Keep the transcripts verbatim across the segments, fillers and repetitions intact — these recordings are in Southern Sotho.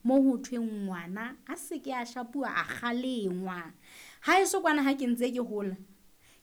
Mo ho thweng ngwana a se ke a shapuwa a kgalengwa. Ha eso kwana ha ke ntse ke hola,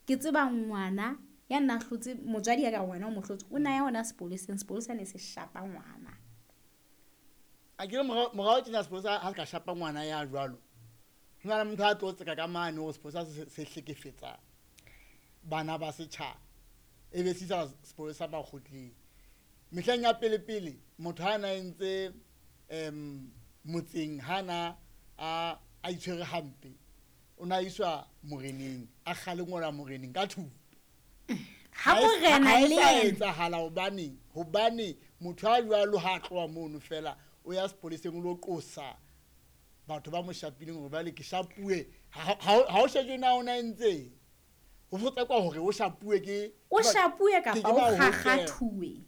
ke tseba ngwana ya nna hlotse motswadi ya ka ngwana o mo hlotse, o na ya hona sepoleseng, sepolesa ne se shapa ngwana. A ke re morao morao tjena sepolesa ha se ka shapa ngwana ya jwalo. Ho na le motho a tlo tseka ka mane hore sepolesa se se hlekefetsa bana ba setjhaba. E be se isa sepolesa makgotleng. Mehleng ya pele pele motho ha na entse em motseng ha na a a itshwere hampe, o na iswa moreneng, a kgalengwela moreneng ka thupa. Ha morena le ha yena etsahala hobane hobane motho a jwalo ha tloha mono fela o ya sepoleseng o lo qosa batho ba mo shapileng hore bale ke shapuwe. Ha ha o shejwe na o na entseng, ho fotsa hore o shapuwe ke o shapuwe ke- kapa ke o ba hokela. kgakgathuwe.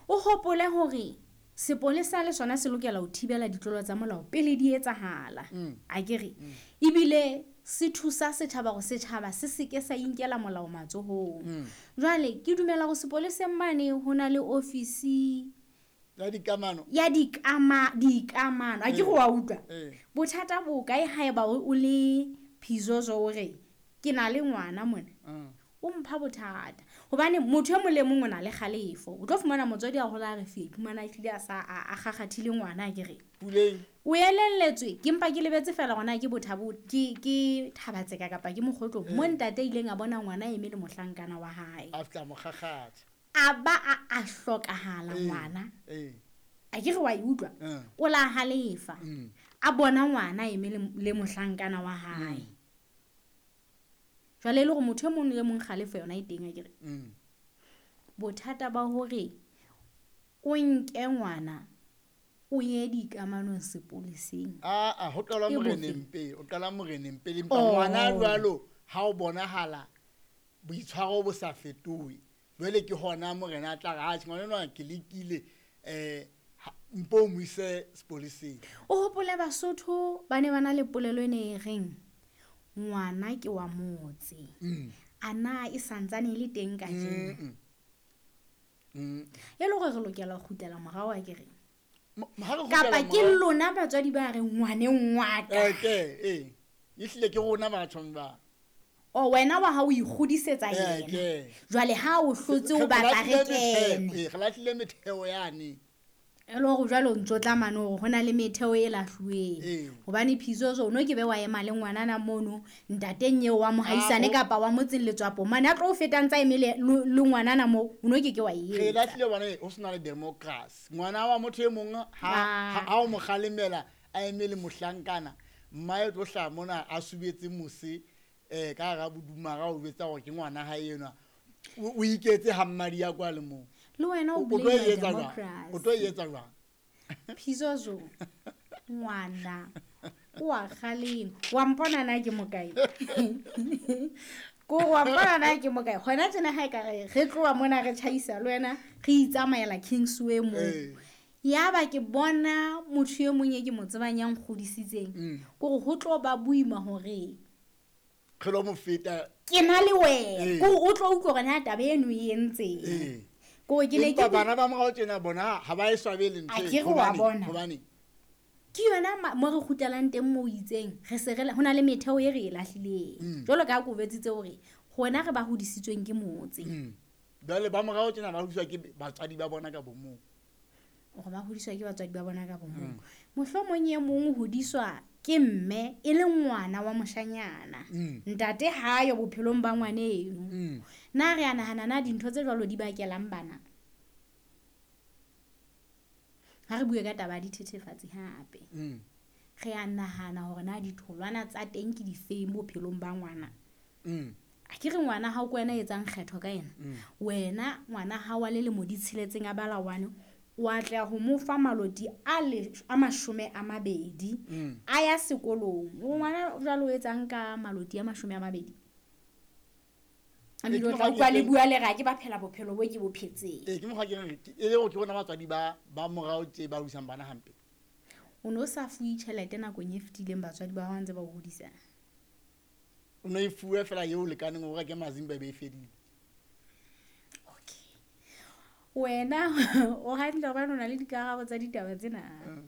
O hopole hore sepolesa le sona se lokela ho thibela ditlolo tsa molao pele di etsahala. A ke re ebile se thusa setjhaba hore setjhaba se seke sa inkela molao matsohong. Jwale ke dumela hore sepoleseng mane ho na le ofisi ya dikamano. ya dikama dikamano. A ke re wa utlwa? Eh. Bothata bo kae haeba o o le Phizozo o re ke na le ngwana mona? Mm. O mpha bothata hobane motho e mong le mong o na le kgalefo. O tlo fumana motswadi a hola a re fe iphumana ehlile a sa a a kgakgathile ngwana a ke re. Puleng. O elelletswe ke mpa ke lebetse fela hore na ke bothabo ke ke Thabatseka kapa ke Mokgotlong mo ntate a ileng a bona ngwana a eme le mohlankana wa hae. A fihla mo kgakgatha. A ba a a hlokahala Eh, ngwana. Eh. A ke re wa e utlwa? Mm. O la halefa. Mm. A bona ngwana a eme le le mohlankana wa hae. Jwale e le hore motho e mong le mong kgalefo yona e teng a ke re. Mm. Bothata ba hore o nke ngwana o ye dikamanong sepoleseng. Ah ah, ho qala Ke bofe? moreneng pele, o qala moreneng pele empa Oh. ngwana jwalo ha o bonahala boitshwaro bo sa fetohe. Jwale ke hona morena a tla re, "Atjhe, ngwana enwa ke lekile, eh ha- mpo o mo ise sepoleseng." O hopole Basotho ba ne ba na le polelo e ne e reng ngwana ke wa motse. Mm. A na e santsane e le teng kajeno? Mm. Mm. E le hore re lokela ho kgutlela morao a ke re. Mo- ha re kgutlela Kapa ke morao- lona batswadi ba reng ngwaneng wa ka. Eh, ke, eh. Ehlile ke rona batho ba. O wena wa hao o ikgodisetsa Eh, yena. ke. Jwale ha o hlotse o Re batla re lahlile metheo, kene. eh, re lahlile metheo yane. E le hore jwale o ntso tla mane hore ho na le metheo e lahluweng. Ee. Hobane Phizozo o no ke be wa ema le ngwanana mono ntateng eo wa mohaisane Ah, o- kapa wa motseng letswapo mane a tlo o feta ntsa eme le le le ngwanana moo o no ke ke wa e Re etsa. lahlile hobane ho sena le democracy. Ngwana wa motho e mong ha Ah. ha ha o mo kgalemela a eme le mohlankana, mmae o tlo hlaha mona a subetse mose eh ka hara bodumara o jwetsa hore ke ngwana hae enwa. O o iketse ha mmadi ya kwa le moo. Le wena o O tlo e blame etsa jwang? O tlo e etsa jwang? Phizozo ngwana o a kgalema. Wa mpona na ke mokae? Ko wa mpona na ke mokae? Hona tjena ha ekare re tloha mona re tjhaisa le wena re itsamaela Kingsway moo. Eh. Yaba ke bona motho e mong e ke mo tsebang ya nkgodisitseng. Mm. Kore ho tlo ba boima hore Re lo mo feta. ke na le wena. Eh. Kore o tlo utlwa hore na taba eno e entseng. Eh. Kore ke ne ke Empa bana ba morao tjena bona ha ba e swabele ntho A e. ke re wa Hobane- bona. Hobane Ke yona ma- mo re kgutlelang teng moo o itseng re se re ho na le metheo e re e lahlileng. Mm. Jwalo ka ha ke o jwetsitse hore rona re ba hodisitsweng ke motse. Mm. Jwale ba morao tjena ba hodiswa ke batswadi ba bona ka bomong. Hore ba hodiswa ke batswadi ba bona ka bomong. Mohlomong e mong o hodiswa ke mme e le ngwana wa moshanyana. Mm. Ntate ha yo bophelong ba ngwana eno. Mm. Na re a nahana na dintho tse jwalo di bakelang bana? Ha re bue ka taba ya dithethefatsi hape. Mm. Re a nahana hore na ditholwana tsa teng ke difeng bophelong ba ngwana. Mm. A ke re ngwana hao ke wena a etsang kgetho ka yena. Mm. Wena ngwana hao wa lelemo di tsheletseng a bala one, o atleha ho mo fa maloti a le a mashome a mabedi Mm. a ya sekolong. O ngwana jwale o etsang ka maloti a mashome a mabedi? A Ee, bile o ke tla mokgwa utlwa ke le reng- bua le re ha ke ba phela bophelo bo ke bo phetseng. Ee, ke mokgwa ke reng, ke- e le hore ke bona batswadi ba ba morao tje ba hodisang bana hampe. O no sa fuwe tjhelete nakong e fetileng batswadi ba hao ha ntse ba o hodisa? O no e fuwe fela eo lekaneng hore o reke mazimba e be e fedile. Okay. Wena o hantle hobane o na le dikarabo tsa ditaba tsena. Mm.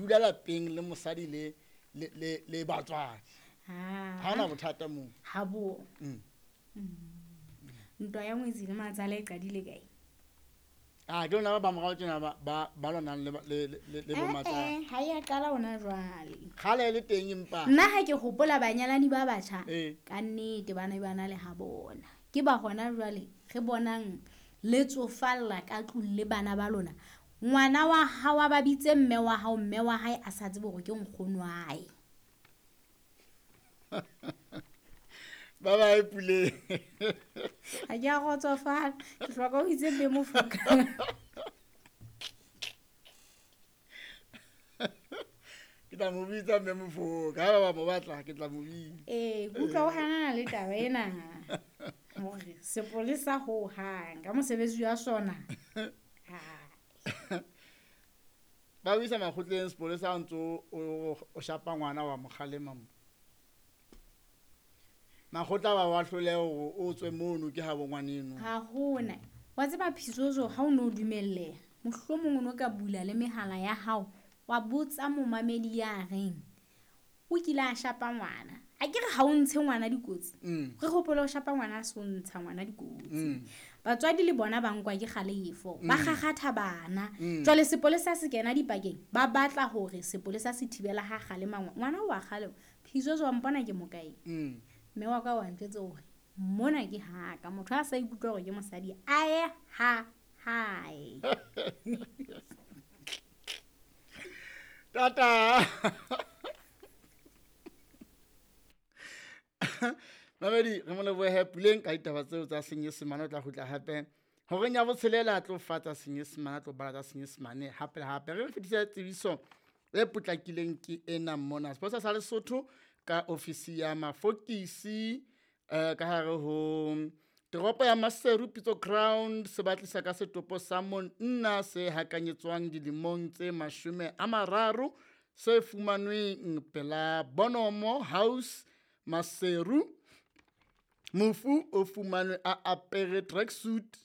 dula lapeng le mosadi le le le le batswadi. Ha hona bothata moo. Ha bo. Mm. Ntwa ya ngwetsi le matsala e qadile kae? Ah, ke lona ba ba morao tjena ba ba ba lwanang le le le le bo matsala. Eh, ha ya qala hona jwale. Kgale le teng empa. Nna ha ke hopola banyalani ba batjha Eh. ka nnete bana ba na le ha bona. Ke ba hona jwale re bonang le tsofalla ka tlung le bana ba lona. Ngwana wa hao a ba bitse mme wa hao, mme wa hae a sa tsebe hore ke nkgono wa hae. Ba ba Puleng. Ha ke a kgotsofala, ke hloka ho itse mme Mofoka. Ke tla mo bitsa mme Mofoka, ha ba ba mo batla ke tla mo bitsa. Ee, ke utlwa o hanana le taba ena. Hore sepolesa ho hang ka mosebetsi wa sona. Ha. Ba o isa makgotleng sepolesa ha o ntso o o shapa ngwana wa mo kgalema mo. Makgotla ba wa hloleha hore o tswe mono ke habo ngwaneno. Ha hona. Wa tseba Phisozo ha o no dumelleha, mohlomong o no ka bula le mehala ya hao wa botsa momamedi ya reng o kile a shapa ngwana. A ke re ha o ntshe ngwana dikotsi. Mm. Re hopole ho shapa ngwana a so ntsha ngwana dikotsi. Mm. Batswadi le bona ba nkwa ke kgalefo, ba Mm. kgakgatha bana. Mm. Jwale sepolesa se kena dipakeng, ba batla hore sepolesa se thibela ha kgalema ngwana. Ngwana wa kgalema. Phisozo wa mpona ke mokae? Mm. Mme wa ka wa ntjwetsa hore mona ke haka, motho ha sa ikutlwa hore ke mosadi a ye ha hae. Tata. Mamedi, re mo lebohe Puleng ka ditaba tseo tsa Senyesemane. O tla kgutla hape horeng ya botshelela, a tlo fa tsa Senyesemane, a tlo bala tsa Senyesemane hape le hape. Re fetisa tsebiso e potlakileng ke ena mona. Sepolesa sa Lesotho ka ofisi ya mafokisi eh, ka hare ho toropo ya Maseru Pitso Ground se batlisa ka setopo sa monna se hakanyetswang dilemong tse mashome a mararo se fumanweng pela Bonomo House Maseru. Mofu o fumanwe a apere tracksuit